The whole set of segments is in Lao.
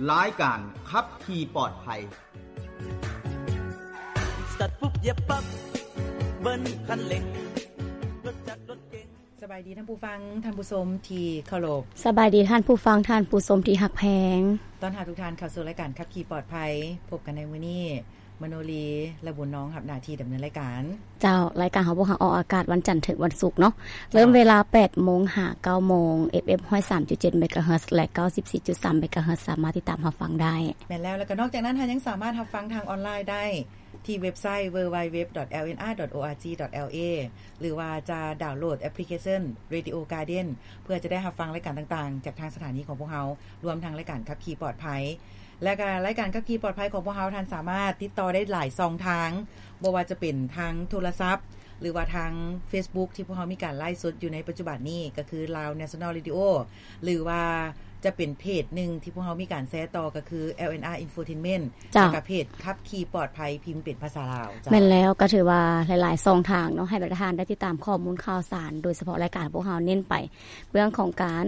ລາຍການຂັບຂີ່ປອດໄພ. ສະຕາດປຸບ ຢຽບປັບ ເບີນຄັນເລັ່ງ ລົດຈັກລົດເກັງ. ສະບາຍດີທ່ານຜູ້ຟັງ, ທ່ານຜູ້ຊົມທີ່ເຄົາລົບ. ສະບາຍດີທ່ານຜູ້ຟັງ, ທ່ານຜູ້ຊົມທີ່ຮັກແພງ. ຕ້ອນຮັບທຸກທ່ານເຂົ້າສູ່ລາຍການຂັບຂີ່ປອດໄພ. ພົບກັນໃນມື້ນີ້ ມະໂນລີ ແລະ ບຸນນ້ອງຮັບໜ້າທີ່ດຳເນີນລາຍການ. ເຈົ້າ, ລາຍການຂອງພວກເຮົາອອກອາກາດວັນຈັນເຖິງວັນສຸກເນາະ. ເຈົ້າ. ເລີ່ມເວລາແປດໂມງຫາເກົ້າໂມງ ເອັຟເອັມ ຮ້ອຍສາມຈຸດເຈັດ ເມກາເຮີດ ແລະ ເກົ້າສິບສີ່ຈຸດສາມ ເມກາເຮີດ ສາມາດຕິດຕາມຮັບຟັງໄດ້. ແມ່ນແລ້ວ, ແລ້ວກໍນອກຈາກນັ້ນ ທ່ານຍັງສາມາດຮັບຟັງທາງອອນລາຍໄດ້ທີ່ເວັບໄຊ www.lnr.org.la ຫຼືວ່າຈະດາວໂຫຼດແອັບພລິເຄຊັນ Radio Garden ເພື່ອຈະໄດ້ຮັບຟັງລາຍການຕ່າງໆ ຈາກທາງສະຖານີຂອງພວກເຮົາ, ລວມທັງລາຍການຂັບຂີ່ປອດໄພ. ແລະກະລາຍການຂັບຂີ່ປອດໄພຂອງພວກເຮົາ ທ່ານສາມາດຕິດຕໍ່ໄດ້ຫຼາຍຊ່ອງທາງ, ບໍ່ວ່າຈະເປັນທາງໂທລະສັບ ຫຼືວ່າທາງ Facebook ທີ່ພວກເຮົາມີການໄລຟ໌ສົດຢູ່ໃນປັດຈຸບັນນີ້ ກໍຄື Lao National Radio ຫຼືວ່າຈະເປັນເພຈໜຶ່ງທີ່ພວກເຮົາມີການແຊຕໍ່ ກໍຄື LNR Infotainment ເຈົ້າ. ແລະກະເພຈຂັບຂີ່ປອດໄພ ພິມເປັນພາສາລາວ. ເຈົ້າ. ແມ່ນແລ້ວ, ກໍຖືວ່າຫຼາຍໆຊ່ອງທາງເນາະ ໃຫ້ບັນດາທ່ານໄດ້ຕິດຕາມຂໍ້ມູນຂ່າວສານ, ໂດຍສະເພາະລາຍການພວກເຮົາເນັ້ນໄປ ເລື່ອງຂອງການ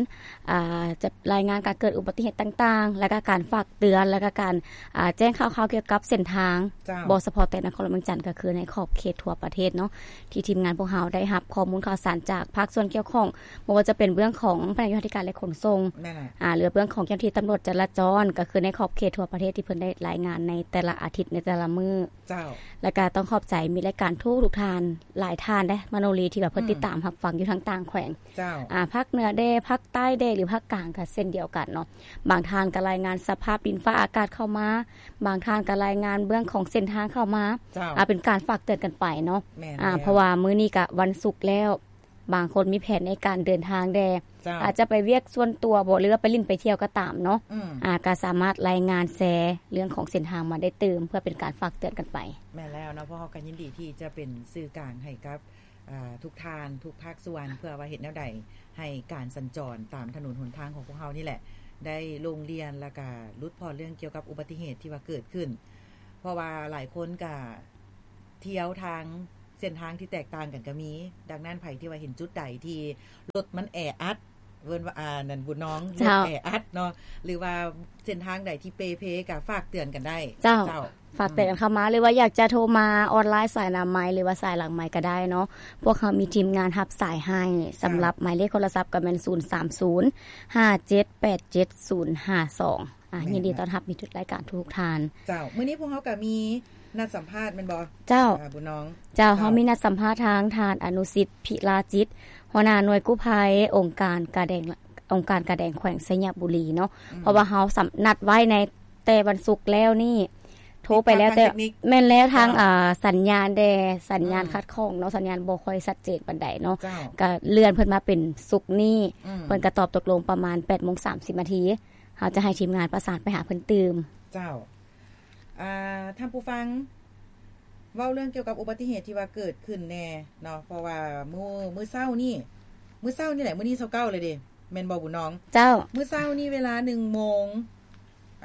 ອ່າ ຈະລາຍງານການເກີດອຸບັດຕິເຫດຕ່າງໆ ແລະກະການຝາກເຕືອນ ແລະກະການ ອ່າ ແຈ້ງຂ່າວຄາວກ່ຽວກັບເສັ້ນທາງ. ເຈົ້າ. ບໍ່ສະເພາະແຕ່ນະຄອນຫຼວງວຽງຈັນ, ກໍຄືໃນຂອບເຂດທົ່ວປະເທດເນາະ ທີ່ທີມງານພວກເຮົາໄດ້ຮັບຂໍ້ມູນຂ່າວສານຈາກພາກສ່ວນກ່ຽວຂ້ອງ, ບໍ່ວ່າຈະເປັນເລື່ອງຂອງພະແນກໂຍທາທິການ ແລະ ຂົນສົ່ງ ແມ່ນແຫຼະ ອ່າ ຫຼືເລື່ອງຂອງເຈົ້າໜ້າທີ່ຕຳຫຼວດຈະລາຈອນ, ກໍຄືໃນຂອບເຂດທົ່ວປະເທດທີ່ເພິ່ນໄດ້ລາຍງານໃນແຕ່ລະອາທິດ, ໃນແຕ່ລະມື້. ເຈົ້າ. ແລະກະຕ້ອງຂອບໃຈ ມີລາຍການທຸກໆທ່ານ, ຫຼາຍທ່ານເດ້ ມະໂນລີ ທີ່ວ່າເພິ່ນ ອືມ ຕິດຕາມຮັບຟັງຢູ່ທາງຕ່າງແຂວງ. ເຈົ້າ. ອ່າ ພາກເໜືອແດ່ ພາກໃຕ້ແດ່ ຫຼືພາກກາງກໍເຊັ່ນດຽວກັນເນາະ. ບາງທ່ານກໍລາຍງານສະພາບດິນຟ້າອາກາດເຂົ້າມາ, ບາງທ່ານກໍລາຍງານເລື່ອງຂອງເສັ້ນທາງເຂົ້າມາ. ເຈົ້າ. ອ່າ ເປັນການຝາກເຕືອນກັນໄປເນາະ. ແມ່ນ ອ່າ ແລ້ວ. ເພາະວ່າມື້ນີ້ກໍວັນສຸກແລ້ວ, ບາງຄົນມີແຜນໃນການເດີນທາງແດ່. ເຈົ້າ. ອາດຈະໄປວຽກສ່ວນຕົວບໍ ຫຼືວ່າໄປຫຼິ້ນໄປທ່ຽວກໍຕາມເນາະ. ອືມ. ອ່າ ກໍສາມາດລາຍງານແຊເລື່ອງຂອງເສັ້ນທາງມາໄດ້ຕື່ມ ເພື່ອເປັນການຝາກເຕືອນກັນໄປ. ແມ່ນແລ້ວເນາະ, ພວກເຮົາກໍຍິນດີທີ່ຈະເປັນສື່ກາງໃຫ້ກັບ ອ່າ ທຸກທ່ານ ທຸກພາກສ່ວນ ເພື່ອວ່າເຮັດແນວໃດໃຫ້ການສັນຈອນຕາມຖະໜົນຫົນທາງຂອງພວກເຮົານີ້ແຫຼະ ໄດ້ໂລ່ງລ່ຽນ ແລ້ວກະຫຼຸດຜ່ອນເລື່ອງກ່ຽວກັບອຸບັດຕິເຫດທີ່ວ່າເກີດຂຶ້ນ. ເພາະວ່າຫຼາຍຄົນກະທ່ຽວທາງເສັ້ນທາງທີ່ແຕກຕ່າງກັນກໍມີ. ດັ່ງນັ້ນ ໃຜທີ່ວ່າເຫັນຈຸດໃດທີ່ລົດມັນແອອັດ ເອີ້ນວ່າ ອ່າ ນັ້ນ ບຸນນ້ອງ ເຈົ້າ ລົດແອອັດເນາະ ຫຼືວ່າເສັ້ນທາງໃດທີ່ເປ່ເພ ກໍຝາກເຕືອນກັນໄດ້. ເຈົ້າ. ເຈົ້າ. ຝາກເຕືອນກັນເຂົ້າມາ ອືມ ຫຼືວ່າຢາກຈະໂທມາອອນລາຍສາຍໜ້າໄມ ຫຼືວ່າສາຍຫຼັງໄມກໍໄດ້ເນາະ. ພວກເຮົາມີທີມງານຮັບສາຍໃຫ້ ເຈົ້າ ສຳລັບໝາຍເລກໂທລະສັບກໍແມ່ນ ສູນສາມສູນ ຫ້າເຈັດແປດເຈັດ ສູນຫ້າສອງ. ອ່າ ແມ່ນ ຍິນດີຕ້ອນຮັບມິດທຸກລາຍການທຸກໆທ່ານ. ເຈົ້າ. ມື້ນີ້ພວກເຮົາກໍມີນັດສຳພາດແມ່ນບໍ່? ເຈົ້າ. ອ່າ ບຸນນ້ອງ. ເຈົ້າ. ເຈົ້າ. ເຮົາມີນັດສຳພາດທາງທ່ານ ອະນຸສິດ ພິລາຈິດ ຫົວໜ້າໜ່ວຍກູ້ໄພ ອົງການກາແດງ ອົງການກາແດງແຂວງໄຊຍະບູລີເນາະ. ອືມ. ເພາະວ່າເຮົາສຳ ນັດໄວ້ໃນແຕ່ວັນສຸກແລ້ວນີ້ ໂທໄປແລ້ວ ແຕ່ ແມ່ນແລ້ວ ທາງ ເຈົ້າ ອ່າ ສັນຍານແດ່ ສັນຍານ ອືມ ຂັດຂ້ອງເນາະ, ສັນຍານບໍ່ຄ່ອຍຊັດເຈນປານໃດເນາະ. ເຈົ້າ. ກໍເລື່ອນເພິ່ນມາເປັນສຸກນີ້. ອືມ. ເພິ່ນກໍຕອບຕົກລົງປະມານແປດໂມງສາມສິບນາທີ. ເຮົາຈະໃຫ້ທີມງານປະສານໄປຫາເພິ່ນຕື່ມ. ເຈົ້າ. ອ່າ ທ່ານຜູ້ຟັງ ເວົ້າເລື່ອງກ່ຽວກັບອຸບັດຕິເຫດທີ່ວ່າເກີດຂຶ້ນແດ່ເນາະ, ເພາະວ່າມື້ ມື້ເຊົ້ານີ້ ມື້ເຊົ້ານີ້ແຫຼະ ມື້ນີ້ຊາວເກົ້າເລີຍເດ້ ແມ່ນບໍ່ບຸນນ້ອງ? ເຈົ້າ. ມື້ເຊົ້ານີ້ເວລາໜຶ່ງໂມງ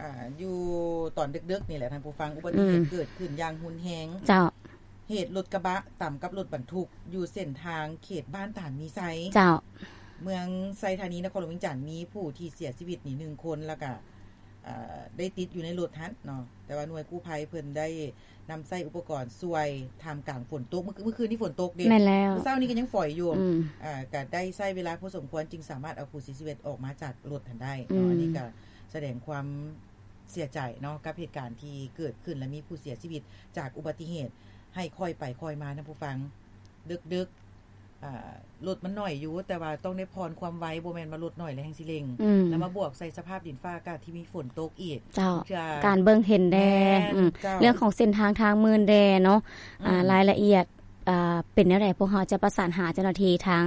ອ່າ ຢູ່ຕອນດຶກໆນີ້ແຫຼະທ່ານຜູ້ຟັງ, ອຸບັດຕິເຫດ ອືມ ເກີດຂຶ້ນຢ່າງຮຸນແຮງ. ເຈົ້າ. ເຫດລົດກະບະຕຳກັບລົດບັນທຸກຢູ່ເສັ້ນທາງເຂດບ້ານຕານມີໄຊ. ເຈົ້າ. ເມືອງໄຊທານີ ນະຄອນຫຼວງວຽງຈັນ ມີຜູ້ທີ່ເສຍຊີວິດນີ້ໜຶ່ງຄົນ ແລ້ວກະ ເອີ ໄດ້ຕິດຢູ່ໃນລົດຫັ້ນເນາະ, ແຕ່ວ່າໜ່ວຍກູ້ໄພເພິ່ນໄດ້ນຳໃຊ້ອຸປະກອນຊ່ວຍທ່າມກາງຝົນຕົກ. ມື້ ມື້ຄືນນີ້ຝົນຕົກເດ້. ແມ່ນແລ້ວ. ມື້ເຊົ້ານີ້ກໍຍັງຝອຍຢູ່. ອືມ. ເອີ ກໍໄດ້ໃຊ້ເວລາພໍສົມຄວນຈຶ່ງສາມາດເອົາຜູ້ເສຍຊີວິດອອກມາຈາກລົດຫັ້ນໄດ້ເນາະ. ອືມ. ອັນນີ້ກໍສະແດງຄວາມເສຍໃຈເນາະ ກັບເຫດການທີ່ເກີດຂຶ້ນ ແລະ ມີຜູ້ເສຍຊີວິດຈາກອຸບັດຕິເຫດ. ໃຫ້ຄ່ອຍໄປຄ່ອຍມາທ່ານຜູ້ຟັງ, ເດິກໆ ອ່າ ລົດມັນໜ້ອຍຢູ່ ແຕ່ວ່າຕ້ອງໄດ້ຜ່ອນຄວາມໄວ, ບໍ່ແມ່ນວ່າລົດໜ້ອຍແລ້ວແຮ່ງຊິເລັ່ງ. ອືມ. ແລ້ວມາບວກໃສ່ສະພາບດິນຟ້າອາກາດທີ່ມີຝົນຕົກອີກ. ເຈົ້າ. ເທື່ອ ການເບິ່ງເຫັນແດ່. ແມ່ນ. ອືມ. ເຈົ້າ. ເລື່ອງຂອງເສັ້ນທາງທາງໝື່ນແດ່ເນາະ. ອືມ. ອ່າ ລາຍລະອຽດ ອ່າ ເປັນແນວໃດ ພວກເຮົາຈະປະສານຫາເຈົ້າໜ້າທີ່ທາງ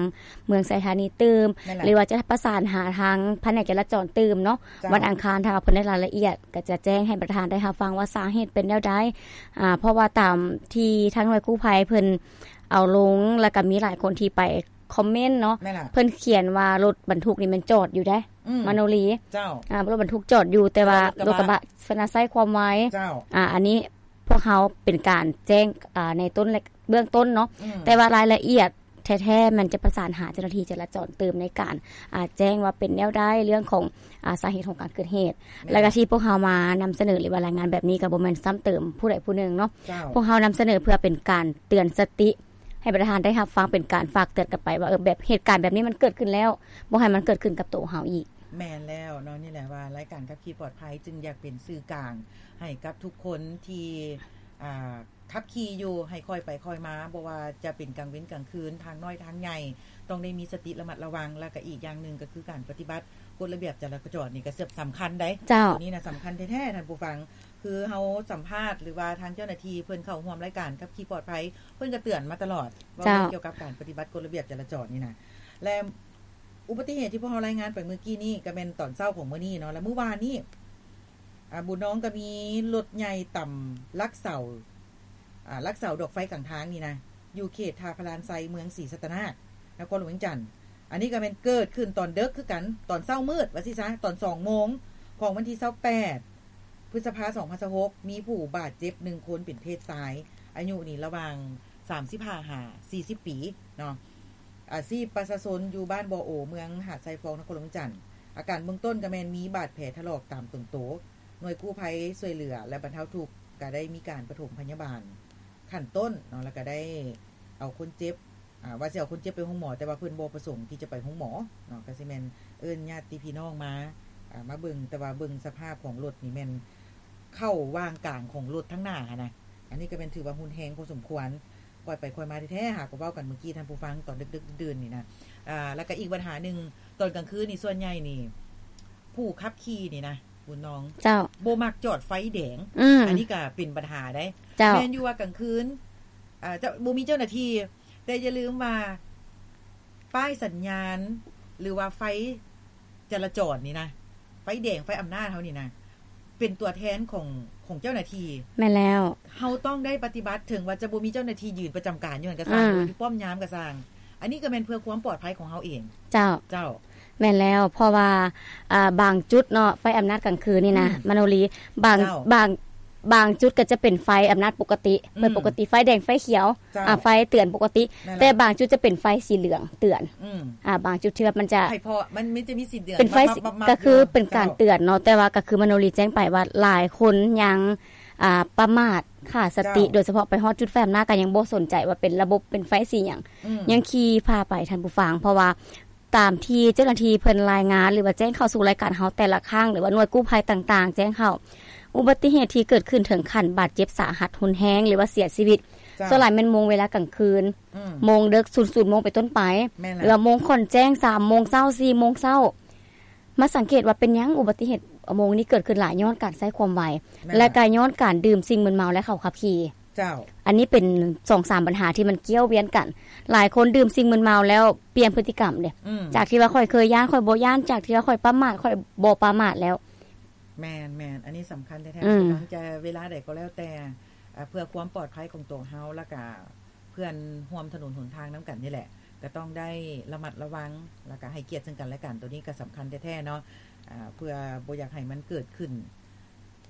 ເມືອງໄຊທານີຕື່ມ ແມ່ນແຫຼະ ຫຼືວ່າຈະປະສານຫາທາງພະແນກຈະລາຈອນຕື່ມເນາະ. ເຈົ້າ. ວັນອັງຄານ ຖ້າວ່າເພິ່ນໄດ້ລາຍລະອຽດ ກໍຈະແຈ້ງໃຫ້ບັນດາທ່ານໄດ້ຮັບຟັງວ່າສາເຫດເປັນແນວໃດ. ອ່າ ເພາະວ່າຕາມທີ່ທາງໜ່ວຍກູ້ໄພເພິ່ນເອົາລົງ ແລ້ວກໍມີຫຼາຍຄົນທີ່ໄປຄອມເມັນເນາະ. ແມ່ນລະ. ເພິ່ນຂຽນວ່າລົດບັນທຸກນີ້ແມ່ນຈອດຢູ່ເດ້. ອືມ. ມະໂນລີ. ເຈົ້າ. ອ່າ ລົດບັນທຸກຈອດຢູ່ ແຕ່ວ່າ ແຕ່ວ່າລົດກະບະ ລົດກະບະ ເພິ່ນນະໃຊ້ຄວາມໄວ. ເຈົ້າ. ອ່າ ອັນນີ້ພວກເຮົາເປັນການແຈ້ງ ອ່າ ໃນຕົ້ນ ເບື້ອງຕົ້ນເນາະ. ອືມ. ແຕ່ວ່າລາຍລະອຽດ ເທັ ແທ້ໆ ແມ່ນຈະປະສານຫາເຈົ້າໜ້າທີ່ຈະລາຈອນຕື່ມໃນການ ອ່າ ແຈ້ງວ່າເປັນແນວໃດ ເລື່ອງຂອງ ອ່າ ສາເຫດຂອງການເກີດເຫດ. ແມ່ນ. ແລ້ວກໍທີ່ພວກເຮົາມານຳສະເໜີ ຫຼືວ່າລາຍງານແບບນີ້ ກໍບໍ່ແມ່ນຊ້ຳເຕີມຜູ້ໃດຜູ້ໜຶ່ງເນາະ. ເຈົ້າ. ພວກເຮົານຳສະເໜີເພື່ອເປັນການເຕືອນສະຕິ ໃຫ້ບັນດາທ່ານໄດ້ຮັບຟັງ ເປັນການຝາກເຕືອນກັນໄປວ່າ ເອີ ແບບເຫດການແບບນີ້ມັນເກີດຂຶ້ນແລ້ວ ບໍ່ໃຫ້ມັນເກີດຂຶ້ນກັບໂຕເຮົາອີກ. ແມ່ນແລ້ວເນາະ, ນີ້ແຫຼະວ່າລາຍການຂັບຂີ່ປອດໄພຈຶ່ງຢາກເປັນສື່ກາງໃຫ້ກັບທຸກຄົນທີ່ ອ່າ ຂັບຂີ່ຢູ່ໃຫ້ຄ່ອຍໄປຄ່ອຍມາ, ບໍ່ວ່າຈະເປັນກາງເວັນກາງຄືນ, ທາງນ້ອຍທາງໃຫຍ່ ຕ້ອງໄດ້ມີສະຕິລະມັດລະວັງ. ແລ້ວກໍອີກຢ່າງໜຶ່ງກໍຄືການປະຕິບັດກົດລະບຽບຈະລາຈອນນີ້ກໍສຳຄັນໄດ໋. ເຈົ້າ. ໂຕນີ້ນະສຳຄັນແທ້ໆ ທ່ານຜູ້ຟັງ. ຄືເຮົາສຳພາດ ຫຼືວ່າທາງເຈົ້າໜ້າທີ່ເພິ່ນເຂົ້າຮ່ວມລາຍການຂັບຂີ່ປອດໄພ ເພິ່ນກໍເຕືອນມາຕະຫຼອດ ເວົ້າເລື່ອງ ເຈົ້າ ກ່ຽວກັບການປະຕິບັດກົດລະບຽບຈະລາຈອນນີ້ນະ. ແລະ ອຸບັດຕິເຫດທີ່ພວກເຮົາລາຍງານໄປມື້ກີ້ນີ້ ກໍແມ່ນຕອນເຊົ້າຂອງມື້ນີ້ເນາະ, ແລະ ມື້ວານນີ້ ອ່າ ບຸນນອງກໍມີລົດໃຫຍ່ຕຳລັກເສົາ ອ່າ ລັກເສົາດອກໄຟກາງທາງນີ້ນະ ຢູ່ເຂດທ່າພະລານໄຊ ເມືອງສີສັດຕະນາກ ນະຄອນຫຼວງວຽງຈັນ. ອັນນີ້ກໍແມ່ນເກີດຂຶ້ນຕອນເດິກຄືກັນ, ຕອນເຊົ້າມືດວ່າຊີ້ຊະ, ຕອນສອງໂມງຂອງວັນທີຊາວແປດ ພຶດສະພາ ສອງພັນຊາວຫົກ ມີຜູ້ບາດເຈັບໜຶ່ງຄົນເປັນເພດຊາຍ, ອາຍຸນີ້ລະຫວ່າງສາມສິບຫ້າຫາສີ່ສິບປີເນາະ, ອາຊີບປະຊາຊົນຢູ່ບ້ານບໍ່ໂອ ເມືອງຫາດຊາຍຟອງ ນະຄອນຫຼວງວຽງຈັນ. ອາການເບື້ອງຕົ້ນກໍແມ່ນມີບາດແຜຖະຫຼອກຕາມຕົວໂຕ. ໜ່ວຍກູ້ໄພຊ່ວຍເຫຼືອ ແລະ ບັນເທົາທຸກກໍໄດ້ມີການປະຖົມພະຍາບານຂັ້ນຕົ້ນເນາະ, ແລ້ວກໍໄດ້ເອົາຄົນເຈັບ ອ່າ ວ່າຊິເອົາຄົນເຈັບໄປໂຮງໝໍ, ແຕ່ວ່າເພິ່ນບໍ່ປະສົງທີ່ຈະໄປໂຮງໝໍເນາະ, ກໍຊິແມ່ນເອີ້ນຍາດຕິພີ່ນ້ອງມາ ອ່າ ມາເບິ່ງ, ແຕ່ວ່າເບິ່ງສະພາບຂອງລົດນີ້ແມ່ນເຂົ້າຫວ່າງກາງຂອງລົດທາງໜ້າຫັ້ນນະ. ອັນນີ້ກໍແມ່ນຖືວ່າຮຸນແຮງພໍສົມຄວນ, ຄ່ອຍໄປຄ່ອຍມາແທ້ໆ, ຫາກໍເວົ້າກັນມື້ກີ້ທ່ານຜູ້ຟັງ ຕອນດຶກໆ ດື່ນໆ ນີ້ນະ. ອ່າ ແລ້ວກໍອີກບັນຫາໜຶ່ງ, ຕອນກາງຄືນນີ້ສ່ວນໃຫຍ່ນີ້ ຜູ້ຂັບຂີ່ນີ້ນະ ບຸນນອງ ເຈົ້າ ບໍ່ມັກຈອດໄຟແດງ. ອືມ ອັນນີ້ກໍເປັນບັນຫາໄດ໋. ເຈົ້າ ແມ່ນຢູ່ວ່າກາງຄືນ ອ່າ ຈະບໍ່ມີເຈົ້າໜ້າທີ່, ແຕ່ຢ່າລືມວ່າປ້າຍສັນຍານ ຫຼືວ່າໄຟຈະລາຈອນນີ້ນະ, ໄຟແດງ ໄຟອຳນາດເຮົານີ້ນະ ເປັນຕົວແທນຂອງ ຂອງເຈົ້າໜ້າທີ່. ແມ່ນແລ້ວ. ເຮົາຕ້ອງໄດ້ປະຕິບັດ, ເຖິງວ່າຈະບໍ່ມີເຈົ້າໜ້າທີ່ຢືນປະຈຳການຢູ່ຫັ້ນກໍຊ່າງ, ອືມ ຢູ່ປ້ອມຍາມກໍຊ່າງ, ອັນນີ້ກໍແມ່ນເພື່ອຄວາມປອດໄພຂອງເຮົາເອງ. ເຈົ້າ. ເຈົ້າ. ແມ່ນແລ້ວ, ເພາະວ່າ ອ່າ ບາງຈຸດເນາະ ໄຟອຳນາດກາງຄືນນີ້ນະ ອືມ ມະໂນລີ ບາງ ເຈົ້າ ບາງ ບາງຈຸດກໍຈະເປັນໄຟອຳນາດປົກກະຕິ ອືມ ເປັນປົກກະຕິ ໄຟແດງ ໄຟຂຽວ ເຈົ້າ ອ່າ ໄຟເຕືອນປົກກະຕິ. ແມ່ນແລ້ວ. ແຕ່ບາງຈຸດຈະເປັນໄຟສີເຫຼືອງເຕືອນ. ອືມ ອ່າ ບາງຈຸດທີ່ວ່າມັນຈະ ໃຫ້ເພາະມັນ ມັນຈະມີສີເດືອນ ເປັນໄຟ ມັບໆໆ ກໍຄືເປັນການເຕືອນເນາະ. ເຈົ້າ. ແຕ່ວ່າກໍຄືມະໂນລີແຈ້ງໄປວ່າຫຼາຍຄົນຍັງ ອ່າ ປະໝາດ ຂາດສະຕິ. ເຈົ້າ. ໂດຍສະເພາະໄປຮອດຈຸດໄຟອຳນາດກໍຍັງບໍ່ສົນໃຈວ່າເປັນລະບົບ ເປັນໄຟສີຫຍັງ. ອືມ ຍັງຂີ່ຜ່າໄປ ທ່ານຜູ້ຟັງ, ເພາະວ່າຕາມທີ່ເຈົ້າໜ້າທີ່ເພິ່ນລາຍງານ ຫຼືວ່າແຈ້ງເຂົ້າສູ່ລາຍການເຮົາແຕ່ລະຄັ້ງ ຫຼືວ່າໜ່ວຍກູ້ໄພຕ່າງໆແຈ້ງເຂົ້າ, ອຸບັດຕິເຫດທີ່ເກີດຂຶ້ນເຖິງຂັ້ນບາດເຈັບສາຫັດຮຸນແຮງ ຫຼືວ່າເສຍຊີວິດ ເຈົ້າ ສ່ວນຫຼາຍແມ່ນໂມງເວລາກາງຄືນ. ອືມ ໂມງເດິກ ສູນໂມງເປັນຕົ້ນໄປ. ແມ່ນແລ້ວ. ຫຼືວ່າໂມງຂ້ອນແຈ້ງ ສາມໂມງເຊົ້າ ສີ່ໂມງເຊົ້າ. ມາສັງເກດວ່າເປັນຫຍັງອຸບັດຕິເຫດໂມງນີ້ເກີດຂຶ້ນຫຼາຍ? ຍ້ອນການໃຊ້ຄວາມໄວ ແມ່ນແລ້ວ ແລະ ກໍຍ້ອນການດື່ມສິ່ງມຶນເມົາ ແລະ ເຂົາຂັບຂີ່. ເຈົ້າ. ອັນນີ້ເປັນສອງສາມບັນຫາທີ່ມັນກ່ຽວວຽນກັນ. ຫຼາຍຄົນດື່ມສິ່ງມຶນເມົາແລ້ວປ່ຽນພຶດຕິກຳເດ້. ອືມ ຈາກທີ່ວ່າຂ້ອຍເຄີຍຢ້ານ ຂ້ອຍບໍ່ຢ້ານ, ຈາກທີ່ວ່າຂ້ອຍປະໝາດ ຂ້ອຍບໍ່ປະໝາດແລ້ວ. ແມ່ນໆ ອັນນີ້ສຳຄັນແທ້ໆ. ອືມ ບໍ່ວ່າຈະເວລາໃດກໍແລ້ວແຕ່ ເພື່ອຄວາມປອດໄພຂອງຕົວເຮົາ ແລ້ວກະ ເພື່ອນຮ່ວມຖະໜົນຫົນທາງນຳກັນນີ້ແຫຼະ ກໍຕ້ອງໄດ້ລະມັດລະວັງ ແລ້ວກະໃຫ້ກຽດເຊິ່ງກັນແລະກັນ. ໂຕນີ້ກໍສຳຄັນແທ້ໆເນາະ ອ່າ ເພື່ອບໍ່ຢາກໃຫ້ມັນເກີດຂຶ້ນ.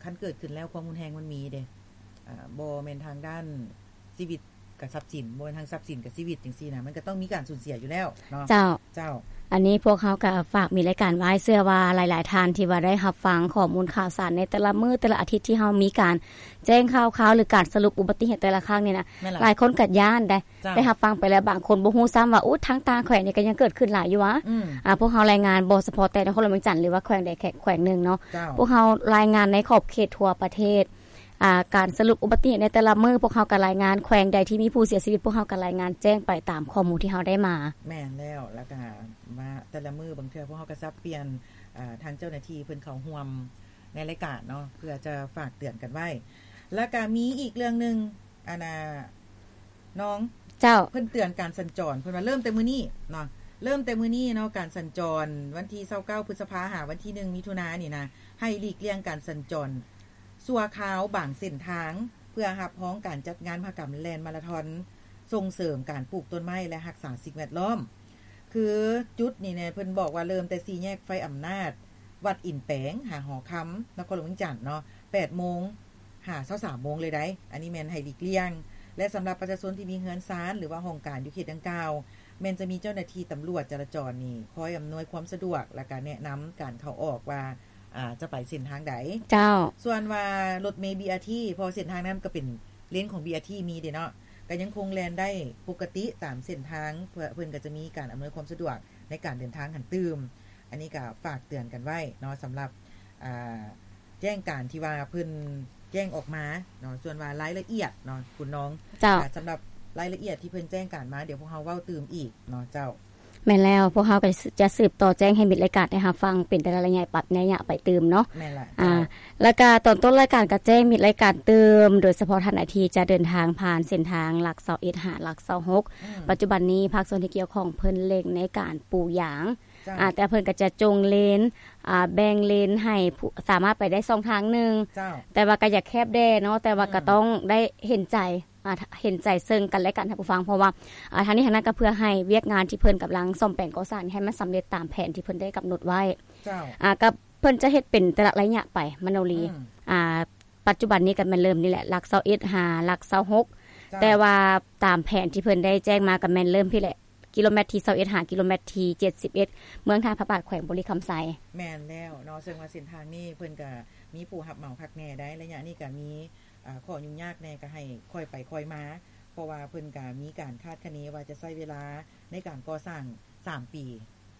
ຄັນເກີດຂຶ້ນແລ້ວຄວາມຮຸນແຮງມັນມີເດ້ ອ່າ ບໍ່ແມ່ນທາງດ້ານຊີວິດກັບຊັບສິນ, ບໍ່ແມ່ນທາງຊັບສິນກັບຊີວິດ ຈັ່ງຊີ້ນະ, ມັນກໍຕ້ອງມີການສູນເສຍຢູ່ແລ້ວເນາະ. ເຈົ້າ. ເຈົ້າ. ອັນນີ້ພວກເຮົາກໍຝາກມີລາຍການໄວ້, ເຊື່ອວ່າຫຼາຍໆທ່ານທີ່ວ່າໄດ້ຮັບຟັງຂໍ້ມູນຂ່າວສານໃນແຕ່ລະມື້ແຕ່ລະອາທິດທີ່ເຮົາມີການ ແຈ້ງຂ່າວຄາວ ຫຼື ການສະຫຼຸບອຸບັດຕິເຫດແຕ່ລະຄັ້ງນີ້ນະ, ແມ່ນລະ ຫຼາຍຄົນກໍຢ້ານໄດ໋. ເຈົ້າ. ໄດ້ຮັບຟັງໄປແລ້ວ ບາງຄົນບໍ່ຮູ້ຊ້ຳວ່າ ໂອ້ ທາງຕ່າງແຂວງນີ້ກໍຍັງເກີດຂຶ້ນຫຼາຍຢູ່ຫວາ. ອືມ ອ່າ ພວກເຮົາລາຍງານບໍ່ສະເພາະແຕ່ນະຄອນຫຼວງວຽງຈັນ ຫຼືວ່າແຂວງໃດແຂວງໜຶ່ງເນາະ. ເຈົ້າ. ພວກເຮົາລາຍງານໃນຂອບເຂດທົ່ວປະເທດ. ອ່າ ການສະຫຼຸບອຸບັດຕິເຫດໃນແຕ່ລະມື້ ພວກເຮົາກໍລາຍງານ, ແຂວງໃດທີ່ມີຜູ້ເສຍຊີວິດ ພວກເຮົາກໍລາຍງານແຈ້ງໄປຕາມຂໍ້ມູນທີ່ເຮົາໄດ້ມາ. ແມ່ນແລ້ວ. ແລ້ວກໍມາແຕ່ລະມື້ ບາງເທື່ອພວກເຮົາກໍສັບປ່ຽນ ອ່າ ທາງເຈົ້າໜ້າທີ່ເພິ່ນເຂົ້າຮ່ວມ ໃນລາຍການເນາະ ເພື່ອຈະຝາກເຕືອນກັນໄວ້. ແລ້ວກະມີອີກເລື່ອງໜຶ່ງ ອັນນ່າ ນ້ອງ ເຈົ້າ ເພິ່ນເຕືອນການສັນຈອນ ເພິ່ນວ່າເລີ່ມແຕ່ມື້ນີ້ເນາະ ເລີ່ມແຕ່ມື້ນີ້ເນາະ ການສັນຈອນວັນທີຊາວເກົ້າ ພຶດສະພາ ຫາວັນທີໜຶ່ງ ມິຖຸນານີ້ນະ ໃຫ້ຫຼີກລ່ຽງການສັນຈອນຊົ່ວຄາວບາງເສັ້ນທາງ ເພື່ອຮັບຮອງການຈັດງານມະຫະກຳແລ່ນມາລາທອນ ສົ່ງເສີມການປູກຕົ້ນໄມ້ ແລະ ຮັກສາສິ່ງແວດລ້ອມ. ຄືຈຸດນີ້ແນ່ ເພິ່ນບອກວ່າເລີ່ມແຕ່ສີ່ແຍກໄຟອຳນາດ ວັດອິນແປງ ຫາຫໍຄຳ ນະຄອນຫຼວງວຽງຈັນເນາະ ແປດໂມງຫາຊາວສາມໂມງເລີຍໃດ໋. ອັນນີ້ແມ່ນໃຫ້ຫຼີກລ່ຽງ ແລະ ສຳລັບປະຊາຊົນທີ່ມີເຮືອນຊານ ຫຼືວ່າຫ້ອງການຢູ່ເຂດດັ່ງກ່າວ ແມ່ນຈະມີເຈົ້າໜ້າທີ່ຕຳຫຼວດຈະລາຈອນນີ້ ຄອຍອຳນວຍຄວາມສະດວກ ແລ້ວກະແນະນຳການເຂົ້າອອກວ່າ ອ່າ ຈະໄປເສັ້ນທາງໃດ. ເຈົ້າ. ສ່ວນວ່າລົດເມ ບີອາທີ ເພາະເສັ້ນທາງນັ້ນກໍເປັນເລນຂອງ ບີອາທີ ມີເດ້ເນາະ ກໍຍັງຄົງແລ່ນໄດ້ປົກກະຕິຕາມເສັ້ນທາງ ເພື່ອເພິ່ນກໍຈະມີການອຳນວຍຄວາມສະດວກໃນການເດີນທາງຫັ້ນຕື່ມ. ອັນນີ້ກໍຝາກເຕືອນກັນໄວ້ເນາະ ສຳລັບ ອ່າ ແຈ້ງການທີ່ວ່າເພິ່ນແຈ້ງອອກມາເນາະ. ສ່ວນວ່າລາຍລະອຽດເນາະ ຄຸນນ້ອງ ເຈົ້າ ອ່າ ສຳລັບລາຍລະອຽດທີ່ເພິ່ນແຈ້ງການມາ ດຽວພວກເຮົາເວົ້າຕື່ມອີກເນາະ. ເຈົ້າ. ແມ່ນແລ້ວ ພວກເຮົາກໍຈະສືບຕໍ່ແຈ້ງໃຫ້ມິດລາຍການໄດ້ຮັບຟັງເປັນແຕ່ລະໄລຍະ ປັບໄລຍະໄປຕື່ມເນາະ. ແມ່ນລະ. ອ່າ ເຈົ້າ. ແລ້ວກະຕອນຕົ້ນລາຍການກໍແຈ້ງມິດລາຍການຕື່ມ ໂດຍສະເພາະທ່ານໃດທີ່ຈະເດີນທາງຜ່ານເສັ້ນທາງຫຼັກຊາວເອັດຫາຫຼັກຊາວຫົກ ອືມ ປັດຈຸບັນນີ້ພາກສ່ວນທີ່ກ່ຽວຂ້ອງເພິ່ນເລັ່ງໃນການປູຢາງ. ເຈົ້າ. ອ່າ ແຕ່ເພິ່ນກໍຈະຈົງເລນ ອ່າ ແບ່ງເລນໃຫ້ຜູ້ ສາມາດໄປໄດ້ຊ່ອງທາງໜຶ່ງ. ເຈົ້າ. ແຕ່ວ່າກໍຢາກແຄບແດ່ເນາະ ແຕ່ວ່າ ອືມ ກໍຕ້ອງໄດ້ເຫັນໃຈ ອ່າ ເຫັນໃຈເຊິ່ງກັນແລະກັນ ທ່ານຜູ້ຟັງ ເພາະວ່າ ອ່າ ທາງນີ້ທາງນັ້ນກໍເພື່ອໃຫ້ວຽກງານທີ່ເພິ່ນກຳລັງສ້ອມແປງກໍ່ສ້າງໃຫ້ມັນສຳເລັດຕາມແຜນທີ່ເພິ່ນໄດ້ກຳນົດໄວ້. ເຈົ້າ. ອ່າ ກໍເພິ່ນຈະເຮັດເປັນແຕ່ລະໄລຍະໄປ ມະໂນລີ. ອືມ. ອ່າ ປັດຈຸບັນນີ້ກໍແມ່ນເລີ່ມນີ້ແຫຼະ ຫຼັກຊາວເອັດຫາຫຼັກຊາວຫົກ. ເຈົ້າ. ແຕ່ວ່າຕາມແຜນທີ່ເພິ່ນໄດ້ແຈ້ງມາກໍແມ່ນເລີ່ມພີ້ແຫຼະ ກິໂລແມັດທີຊາວເອັດຫາກິໂລແມັດທີເຈັດສິບເອັດ ເມືອງທ່າພະບາດ ແຂວງບໍລິຄຳໄຊ. ແມ່ນແລ້ວເນາະ ເຊິ່ງວ່າເສັ້ນທາງນີ້ເພິ່ນກໍມີຜູ້ຮັບເໝົາຄັກແນ່ໄດ໋ ໄລຍະນີ້ກໍມີ ອ່າ ຂໍ້ຫຍຸ້ງຍາກແດ່ ກໍໃຫ້ຄ່ອຍໄປຄ່ອຍມາ ເພາະວ່າເພິ່ນກໍມີການຄາດຄະເນວ່າຈະໃຊ້ເວລາໃນການກໍ່ສ້າງສາມປີ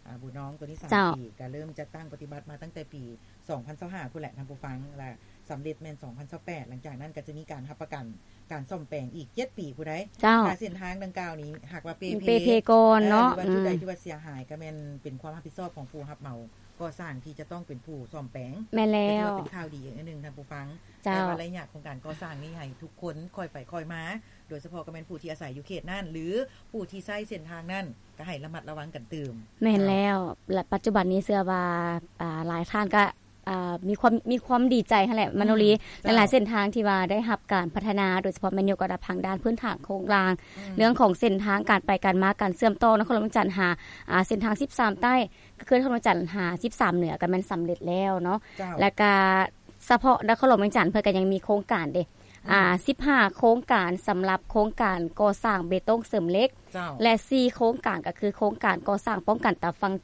ອ່າ ບຸນນ້ອງ ຕົວນີ້ສາມ ເຈົ້າ ປີ ກໍເລີ່ມຈັດຕັ້ງປະຕິບັດມາຕັ້ງແຕ່ປີສອງພັນຊາວຫ້າພຸ້ນແຫຼະ ທ່ານຜູ້ຟັງ ແລະ ສຳເລັດແມ່ນສອງພັນຊາວແປດ ຫຼັງຈາກນັ້ນກໍຈະມີການຮັບປະກັນການສ້ອມແປງອີກເຈັດປີພຸ້ນໃດ໋. ເຈົ້າ. ຖ້າເສັ້ນທາງດັ່ງກ່າວນີ້ຫາກວ່າເປ່ເພ ເປ່ເພກ່ອນເນາະ ເອີ ຫຼືວ່າຈຸດໃດ ອືມ ທີ່ວ່າເສຍຫາຍ ກໍແມ່ນເປັນຄວາມຮັບຜິດຊອບຂອງຜູ້ຮັບເໝົາກໍ່ສ້າງທີ່ຈະຕ້ອງເປັນຜູ້ສ້ອມແປງ. ແມ່ນແລ້ວ. ກໍຖືວ່າເປັນຂ່າວດີອີກອັນໜຶ່ງ ທ່ານຜູ້ຟັງ. ເຈົ້າ. ແຕ່ວ່າໄລຍະຂອງການກໍ່ສ້າງນີ້ໃຫ້ທຸກຄົນຄ່ອຍໄປຄ່ອຍມາ ໂດຍສະເພາະກໍແມ່ນຜູ້ທີ່ອາໄສຢູ່ເຂດນັ້ນ ຫຼື ຜູ້ທີ່ໃຊ້ເສັ້ນທາງນັ້ນ ກໍໃຫ້ລະມັດລະວັງກັນຕື່ມ. ແມ່ນແລ້ວ ແລະ ປັດຈຸບັນນີ້ເຊື່ອວ່າ ອ່າ ຫຼາຍທ່ານກໍ ອ່າ ມີຄວາມ ມີຄວາມດີໃຈຫັ້ນແຫຼະ ມະໂນລີ. ອືມ. ເຈົ້າ. ຫຼາຍໆເສັ້ນທາງທີ່ວ່າໄດ້ຮັບການພັດທະນາ ໂດຍສະເພາະແມ່ນຍົກລະດັບທາງດ້ານພື້ນຖານໂຄງລ່າງ ອືມ ເລື່ອງຂອງເສັ້ນທາງ ການໄປການມາ ການເຊື່ອມຕໍ່ນະຄອນຫຼວງວຽງຈັນຫາ ອ່າ ເສັ້ນທາງສິບສາມໃຕ້ ຄືນະຄອນຫຼວງວຽງຈັນຫາສິບສາມເໜືອ ກໍແມ່ນສຳເລັດແລ້ວເນາະ. ເຈົ້າ. ແລ້ວກໍສະເພາະນະຄອນຫຼວງວຽງຈັນ ເພິ່ນກໍຍັງມີໂຄງການເດ້ ອືມ ອ່າ ສິບຫ້າໂຄງການ ສຳລັບໂຄງການກໍ່ສ້າງເບຕົງເສີມເຫຼັກ. ເຈົ້າ. ແລະ ສີ່ໂຄງການ ກໍຄືໂຄງການກໍ່ສ້າງປ້ອງກັນຕາຝັ່ງ